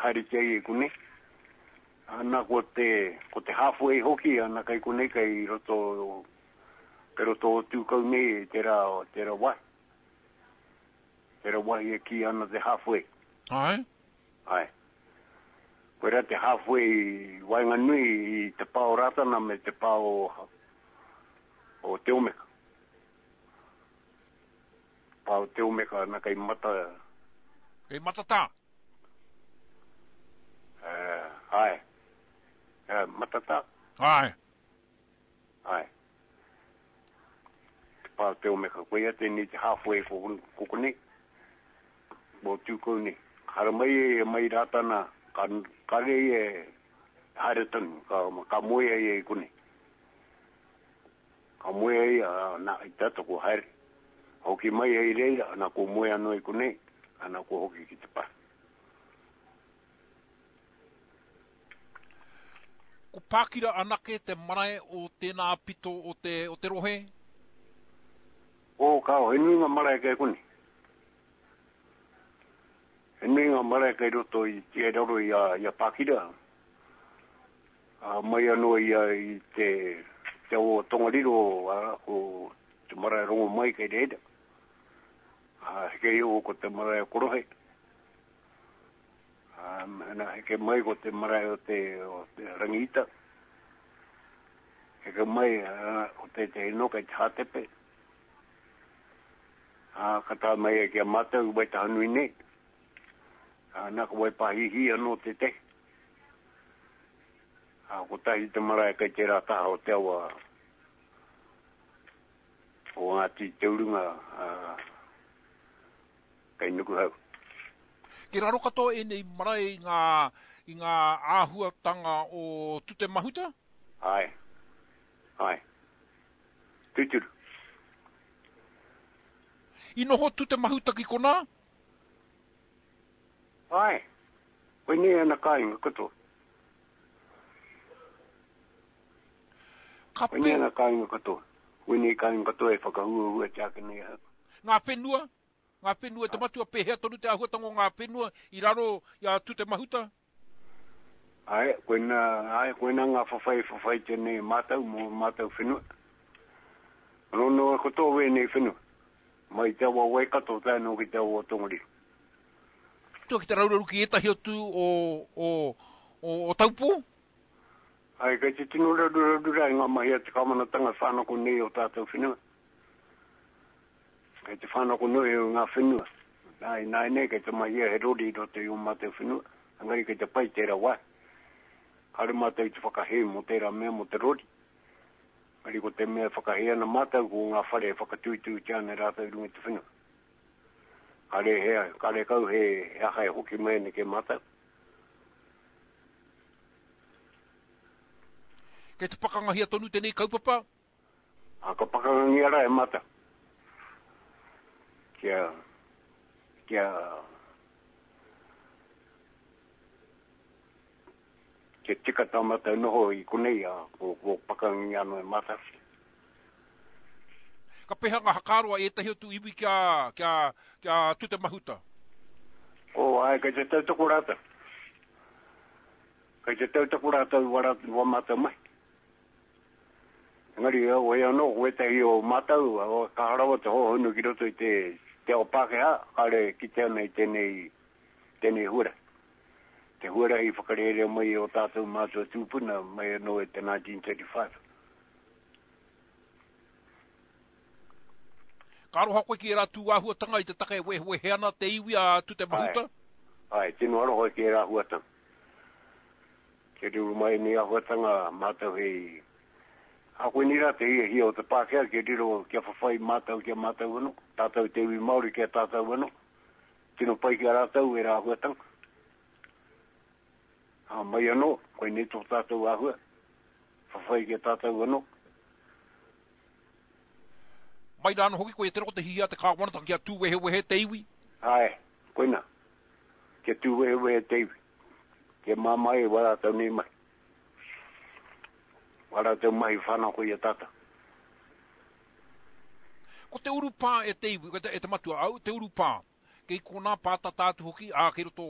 haeretia ia i konei. Ana ko te, ko te halfway hoki, ana kei konei kei roto, kei roto o Tūkau nei tērā, tērā wahi. Tērā wahi e kī ana te halfway. Ae. Ae. Koirā te halfway i waenganui i te pā o Rātana me te pā o, o Te Omeka. Pā o Te Omeka ana kei mata... Kei Matatā? Uh, ae. Uh, Matatā? Ae. Ae. Te pā o Te Omeka. Koia tēnei te halfway ko, ko konei. Mō Tūkou nei. Haramai e mai Rātana, ka, kare ia e haere tonu, ka, ka moea ia i konei. Ka moea ia, nā, i te ata ko haere. Hoki mai hei reira, nā, ko moe anō i konei, ana ko hoki ki te pā. Ko Pākira anake te marae o tēnā pito o te, o te rohe? Oh, kāo, he nui ngā marae kei konei. He nui ngā marae kei roto i te raro i a, i a Pākira. Ā, mai anō ia i te, te awa o Tongariro, ā, ko te marae Rongomai kei reira. Ā, heke iho ko te marae o Korohe. Ā, nā, heke mai ko te marae o te, o te Rangiita. Heke mai, ā, ko tētehi anō kei te Hātepe. Ā, ka tae mai ai ki a mātou i Waitahanui nei. Ā, nā, ko Waipāhīhī anō tētehi. Ā, kotahi te marae kei tērā taha o te awa o Ngāti Te Urunga, ā, kei Nukuhau. Kei raro katoa ēnei marae i ngā, i ngā āhuatanga o Tutemahuta? Āe. Āe. Tūturu. I noho Tutemahuta ki konā? Āe. Koinei ana kāinga katoa. Ka Koinei ana kāinga katoa. Koinei kāinga katoa e whakahuahuatia ake nei ahau. Ngā whenua? Ngā whenua e te matua, pēhea tonu te āhuatanga o ngā whenua i raro i a Tutemahuta? Āe, koina, āe, koina ngā whawhai e whawhaitia nei e mātou mō ō mātou whenua. Anō noa katoa wēnei whenua, mai te awa o Waikato tae noa ki te awa o Tongariro. Tua ki te rauraru ki ētahi atu o, o, o, o Taupō? Āe, kei te tino raruraru rā i ngā mahi a te kāwanatanga e whānako nei ō tātou whenua. Kei te whānako noa iho ngā whenua. Nā, ināianei kei te mahia he rori i roto i ō mātou whenua, engari kei te pai tērā wāhi. Kāore mātou i te whakahē mō tērā mea mō te rori. Engari ko te mea e whakahē ana mātou ko ngā whare e whakatūtūtia ana e rātou i runga i te whenua. Kāre he, kāre kau he, he aha e hoki mai ana ki a mātou. Kei te pakangahia tonu tēnei kaupapa? A ka pakangangia ra e mata. Kia, kia, kia tika tā mātou noho i konei, a ko, ko pakangangia anō e mātou. Ka peha ngā hakaaro a ētahi atu iwi kia, kia, kia Tutemahuta? Oh, āe, kei te tautoko rātou. Kei te tautoko rātou i wā mātou mahi. Engari, heoi anō, ko ētahi o mātou, kaha rawa te hōhonu ki roto i te, te ao Pākehā, kāre e kite ana i tēnei, tēnei huarahi. Te huarahi i whakarērea mai e ō tātou mātua tūpuna mai anō i te 1935. Ka aroha koe ki ērā tūāhuatanga i te take e wehewehe ana te iwi a Tutemahuta? Āe, āe, tino aroha ki ērā āhuatanga. Kia riro mai ēnei āhuatanga mātou hei Ā, koinei rā te hiahia o te Pākehā kia riro, kia whawhai mātou ki a mātou anō, tātou te iwi Māori ki a tātou anō. Tino pai ki a rātou ērā āhuatanga. Ā, mai anō, koinei tō tātou āhua, whawhai ki a tātou anō. Mai rā anō hoki koia te roko te hiahia a te kāwanatanga kia tūwehewehe te iwi. Āe, koina, kia tūwehewehe te iwi. Kia māmā ai wā rātou nei mahi. Wā rātou mahi whanako i a tātou. Ko te urupā e te iwi, e te matua, au, te urupā. Kei konā pātata atu hoki, ā, kei roto o.